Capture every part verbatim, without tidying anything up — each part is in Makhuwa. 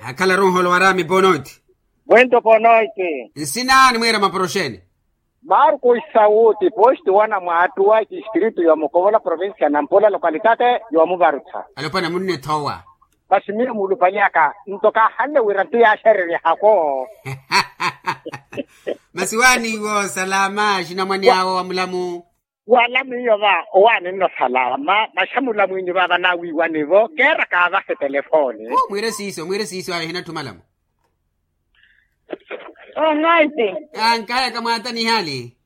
Akhalaru nholo waraami bonoiti. Mwento bonoiti. Nsina ni mwiira maporoxeni. Marcos sauti posti wana mwaattuwa etistritu ya mukovola provincia ya nampula lokalitate ya muvarutha. Alopwana munne thowa. Masi miyo mulupanyaka nto kahanle wira nti yaaxererya hako. Masi waaniiwo salama xinamwani awo wa mulamu. Wala miyo va owaani nno salama maxamula mwinyu vava nawiiwani-vo keera kaavahe telefoni. Mwiire siiso mwiire siiso ayo hinatthumalamu. Onoiti. Ankaya kamwaata nihaali.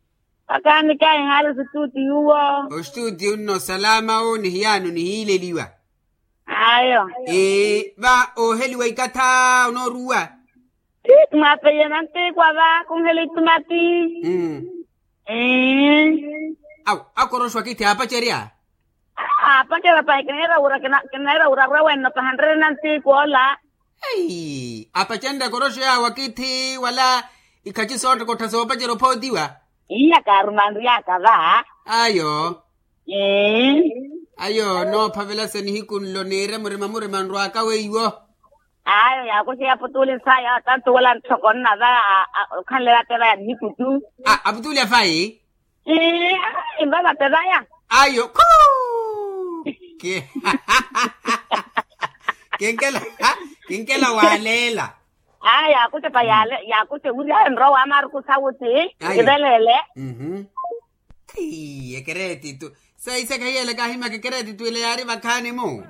Akaani kayi haali situutiyu wo. Ostuutiyu nno salama wo nihiyaano nihiileliwa. Ayo. Ee va ooheliwa ikatha onooruwa. Ti tumapeiye nantiikwa va kunhela itumati. Mm. Ee. Awu akoroxwa kithi aapacerya. Aapacerya pahi kineera wura kineera wura arwe wenno pahanrerye nantiikwa ola. Apacenrye akoroxo yaawo akithi wala ikhaci soottokottha soopacerya ophootiwa. Iya kaarumanryaka va. Ayo. Ayo noophavela sa nihiku nlo niire murima murima nrwaka weiwo. Ayo yaakuxa yaputuuli nsaya tantu wala ntthoko nnava. Okhanle vateva ya nihiku tu. Aputuuli afayi. Ii. Mpapate vaya. Ayo khuu. Kinkela kinkela waaleela. Aya yaakutepa yaale yaakutepa wiri ayo nrowa amaruku sawuti. Kivelele. Ekereetitu. Saisaka hiyelaka ahimaka ekereetitu ile yaari vakhaani-mu.